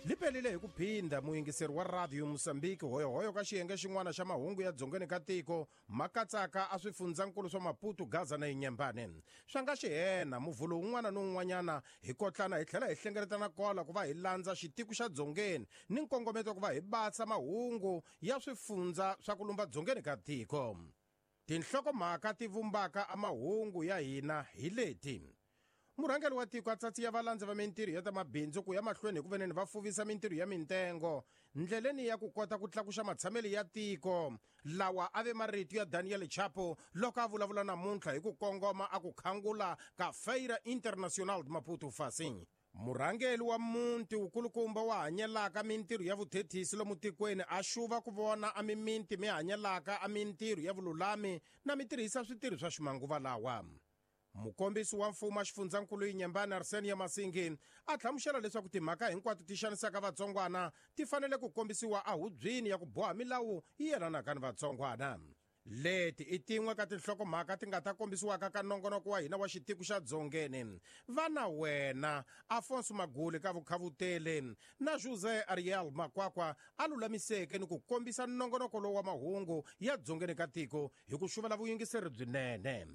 Li pelile hi ku phinda muyingiseri wa Radio Mosambiki hoyohoyo ka xiyenge xin'wana xa mahungu ya dzongeni ka tiko ma katsaka a swifundzankulu swa Maputo, Gaza na Inyembane. Swa nga xihena muvhulo wun'wana ni wun'wanyana hi kotlana hi tlhela hi hlengeletana kola ku va hi landza xitiko xa dzongeni ni nkongometo ku va hi basa mahungu ya swifundza swa ku lumba dzongeni ka tiko. Tinhlokomhaka ti vumbaka a mahungu ya hina hi leti. Murhangeri wa tiko a tsatsiya valandzi va mintirho ya ta mabindzu ku ya mahlweni hi ku veneni va fuvisa mintirho ya mintengo ndleleni ya ku kota ku tlakuxa matshamelo ya tiko. Lawa a ve marito ya Daniel Chapo loko a vulavula namuntlha hi ku kongoma a ku khangula ka Feira Internacional de Maputo Facing. Murhangeri wa muti wukulukumba wa hanyelaka mintirho ya vuthethisi lomu tikweni a xuva ku vona a miminti mi hanyelaka a mintirho ya vululami na mi tirhisa switirho swa ximanguva lawa. Mukombisi wa mfumo a xifundzankulu Inyembane Arsenio Masingi a hlamusela leswaku timhaka hinkwato ti xanisaka vatsongwana ti fanele ku kombisiwa a hubyini ya ku boha milawu yi yelanaka ni vatsongwana. Leti i tin'we ka tinhlokomhaka ti nga ta kombisiwaka ka nongonoko wa hina wa xitiko xa dzongeni. Vana wena Afonso Maguli ka vukhavuteli na José Ariel Makwakwa a lulamiseke ni ku kombisa nongonoko lowu wa mahungu ya dzongeni ka tiko hi ku xuvela vuyingiseri byinene.